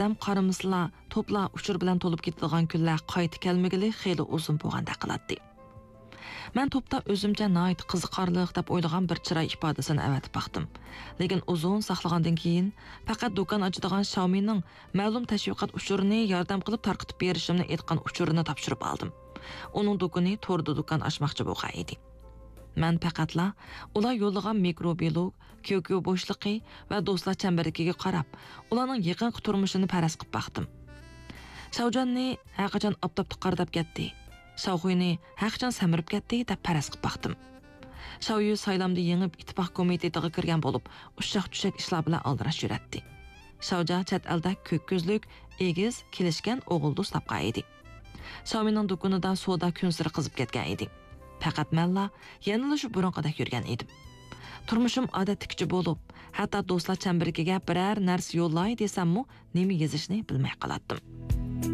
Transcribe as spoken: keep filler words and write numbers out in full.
دەم قارىمىسىلا، توپلا ئۇچۇر بىلەن تولۇپ كېتىدىغان كۈنلەر قايتا كەلمىگىلى خېلى ئۇزۇن بولغاندەك قىلاتتى. مەن توپتا ئۆزۈمچە ناھايىتى قىزىقارلىق دەپ ئويلىغان بىر چىراي ئىپادىسىنى ئەۋەتىپ باقتىم. لېكىن ئۇزۇن ساقلىغاندىن كېيىن، پەقەت دۇكان ئاچىدىغان شاۋمىنىڭ مەلۇم تەشۋىقات ئۇچۇرىنى ياردەم قىلىپ تارقىتىپ بېرىشىمنى ئېيتقان ئۇچۇرىنى تاپشۇرۇپ ئالدىم. ئۇنىڭ دۇكىنى توردا دۇكان ئاچماقچى بولغان ئىدى. مەن پەقەتلا ئۇلار يوللىغان مىكروبىلوگ، كيوكيو بوشلۇقى ۋە دوستلار چەمبىرىكىگە قاراپ، ئۇلارنىڭ يېقىنقى تۇرمۇشىنى پەرەز قىلىپ باقتىم. شاۋجاننى ھەرقاچان ئاپتاپتا قارىداپ كەتتى، شاۋخۇينى ھەرقاچان سەمرىپ كەتتى دەپ پەرەز قىلىپ باقتىم. شاۋيۈ سايلامدا يېڭىپ، ئىتتىپاق كومىتېتىغا كىرگەن بولۇپ، ئۇششاق-چۈششەك ئىشلار بىلەن ئالدىراش يۈرەتتى. شاۋجا چەت ئەلدە كۆك كۆزلۈك، ئېگىز، كېلىشكەن ئوغۇل دوست تاپقان ئىدى. شاۋمىنىڭ دۇكىنىدا سودا كۈنسېرى قىزىپ كەتكەن ئىدى. پەقەت مەنلا يەنىلا شۇ بۇرۇنقىدەك يۈرگەن ئىدىم. تۇرمۇشۇم ئادەتتىكىچە بولۇپ، ھەتتا دوستلار چەمبىرىكىگە بىرەر نەرسە يوللاي دېسەممۇ، نېمە يېزىشنى بىلمەي قالاتتىم.